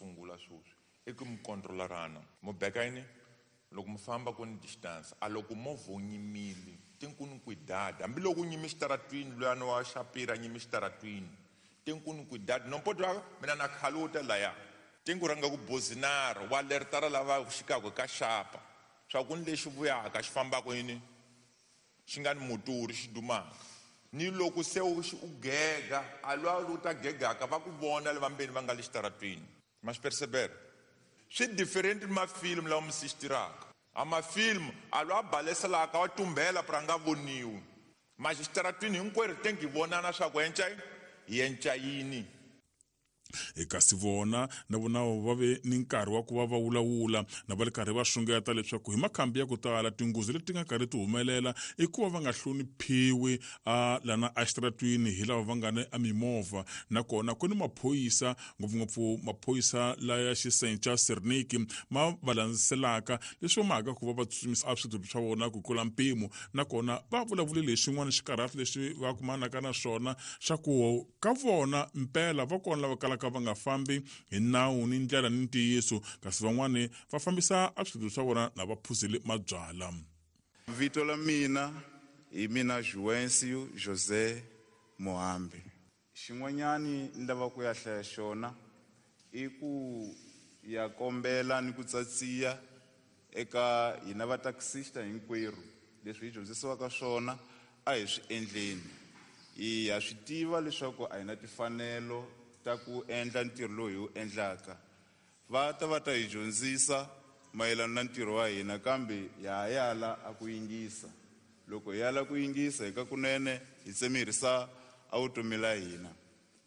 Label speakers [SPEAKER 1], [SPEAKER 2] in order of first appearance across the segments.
[SPEAKER 1] sungula sweswi i ku mi controlarana mu beka yini loko mi famba ku ni distance a loko movha wu nyimile tinkuni kwidada hambiloko u nyime xitaratwini luyani wa xapira nyime xitaratwini tinkuni kwidada nompoto wa mina na khaluta laya tinku rhanga ku bozinara wa lertara lava xikaka ka xapa swa ku ni lexi vuyaka xi fambaka yini xi nga ni muturi xi dumaka ni loko se u gega a lwa u ta gegaka va ku vona lava mbeni va nga le xitaratwini ma swi percebera swi different ni mafilmu lawa mi sixtiraka a mafilmu a lwa baleselaka wa tumbela pra nga voniwi ma xitaratwini hinkwerhu tengi vonana swa ku enca hi enca yini.
[SPEAKER 2] Kasi vona na vona va ve ni nkarhi wa ku va va vulavula na va ri karhi va xungeta leswaku hi makhambi ya ku tala tinghozi leti nga karhi ti humelela i ku va va nga hloniphiwi a lana exitaratwini hi lava va nga ni emimovha nakona ku ni maphorisa ngopfungopfu maphorisa laya xisenca serniki ma va landzelaka leswi va mhaka ku va va tsutsumisa a switulu swa vona ku tlula mpimo nakona va vulavule lexin'wana xikarhati lexi va kumanaka na swona xa ku ka vona mpela va kona lava kalaka va nga fambi hi nawu ni ndlela ni ntiyiso kasi van'wani va fambisa a switulu swa vona na va phuzile mabyala.
[SPEAKER 3] Vito la mina hi mina Juvencio José Mohambi. Xin'wanyani ni lava ku ya hlaya xona i ku ya kombela ni ku tsatsiya eka hina va taxista hinkwerhu leswi hi dyondzisiwaka swona a hi swi endleni. Hi ha swi tiva leswaku a hi na timfanelo ta ku endla ntirho lowu hi wu endlaka. Va ta va ta hi dyondzisa mayelana na ntirho wa hina kambe ha ha yala a ku yingisa. Loko hi yala ku yingisa hi ka kunene hi tsemerisa a vutomi la hina.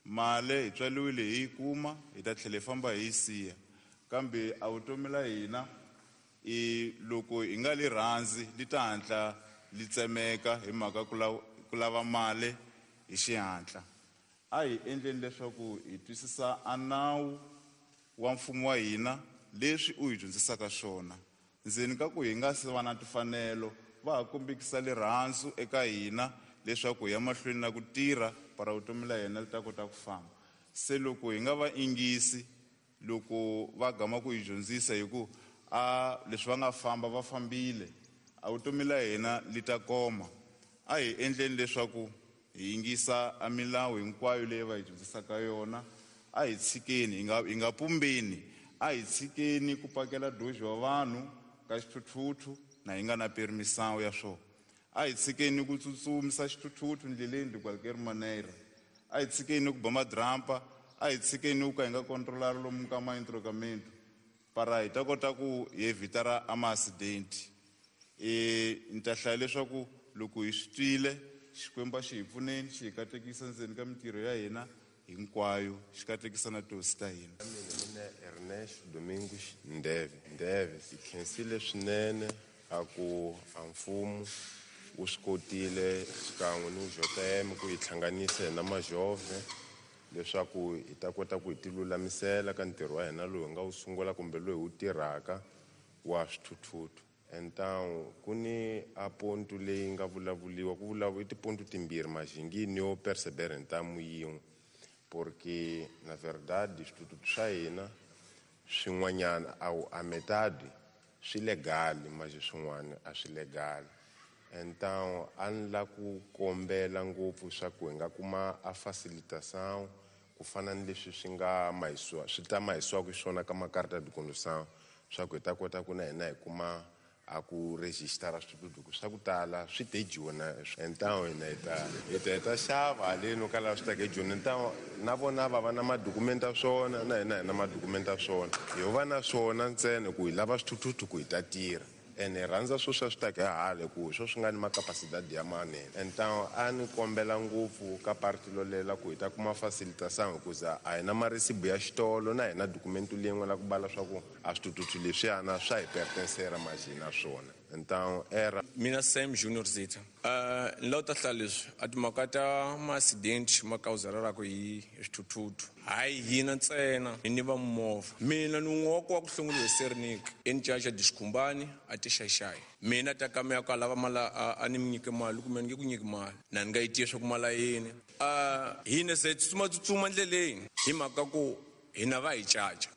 [SPEAKER 3] Mali hi tswaliwile hi yi kuma hi ta tlhela hi famba hi yi siya kambe a vutomi la hina i loko hi nga li rhandzi li ta hatla li tsemeka hi mhaka ku ku lava mali hi xihatla. A hi endleni leswaku hi twisisa a nawu wa mfumo wa hina leswi u hi dyondzisaka swona. Ndzeni ka ku hi nga si va na timfanelo, va ha kombekisa lirhandzu eka hina leswaku hi ya mahlweni na ku tirha para vutomi la hina li ta kota ku famba. Se loko hi nga va ingisi loko va gama ku hi dyondzisa hi ku a leswi va nga famba va fambile, a vutomi la hina li ta koma. A hi endleni leswaku hi yingisa a milawu hinkwayo leyi va hi dyondzisaka yona. A hi tshikeni, hi nga, hi nga pumbeni. A hi tshikeni ku pakela doji wa vanhu ka xithuthuthu na hi nga na permisão ya swona. A hi tshikeni ku tsutsumisa xithuthuthu ndleleni de qualquer maneira. A hi tshikeni ku ba madrampa. A hi tshikeni ku ka hi nga kontrolari lomu ka ma-entrocamento para hi ta kota ku hi evitara a ma-accident. E, ni ta hlaya leswaku loko hi swi twile, Xikwembu a xi hi pfuneni, xi hi katekisa ndzeni ka mintirho ya hina hinkwayo, xi katekisa na tihosi ta hina.
[SPEAKER 4] Mina mina Ernesto Domingos Ndeve Ndeve hi khensile swinene a ku a mfumo wu swi kotile xikan'we ni JM ku hi hlanganisa hina majove leswaku hi ta kota ku hi ti lulamisela ka ntirho wa hina lowu hi nga wu sungula kumbe lowu hi wu tirhaka wa swithuthuthu. Então ku ni a ponto leyi nga vulavuliwa ku vulavu i tiponto timbirhi majingini yo perceber ntamu yin'we porque na verdade swithuthuthu swa hina swin'wanyana a a metade swi legal manje swin'wana a swi legal. Então a ni la ku kombela ngopfu swa ku hi nga kuma a facilitação ku fana ni leswi swi nga mahisiwa swi ta mahisiwaka xiswona ka makarta de condução swa ku hi ta kota ku na hina hi kuma a ku rejistara swithuthuthu swa ku tala swi te jona então hina hi ta hi ta hi ta xava haleni ka laha swi taka hi joni então na vona va va na madokumenti ya swona na hina hi na madokumenti ya swona hi va na swona ntsena ku hi lava swithuthuthu ku hi ta tirha ene hi rhandza swo swa swi taka hi hala ku hi swo swi nga ni macapacidade ya manene então a ni kombela ngopfu ka parti lolela ku hi ta kuma facilitação hikuza a hi na maresibu ya xitolo na hina dokumento leyin'we la ku bala swa ku a swithuthuthu leswiyana swa hi pertencera majhi na swona então era
[SPEAKER 5] Mina Sam Junior Zitha. Ni lava ku ta hlaya leswi a timhaka ta ma-accident ma kawuzerelaka hi swithuthuthu hayi hina ntsena ni va mimovha. Mina ni un'we wa ku wa ku hlongoriwa hi Sernik encaca Dixikhumbani a ti xaxayi. Mina ta ka ya ku a lava mali a ni mi nyike mali kumbe ni nge ku nyiki mali na ni nga yi tivi swa ku mali ya yini. Hina se tsutsuma tsutsuma ndleleni hi mhaka ku hina va hi caca.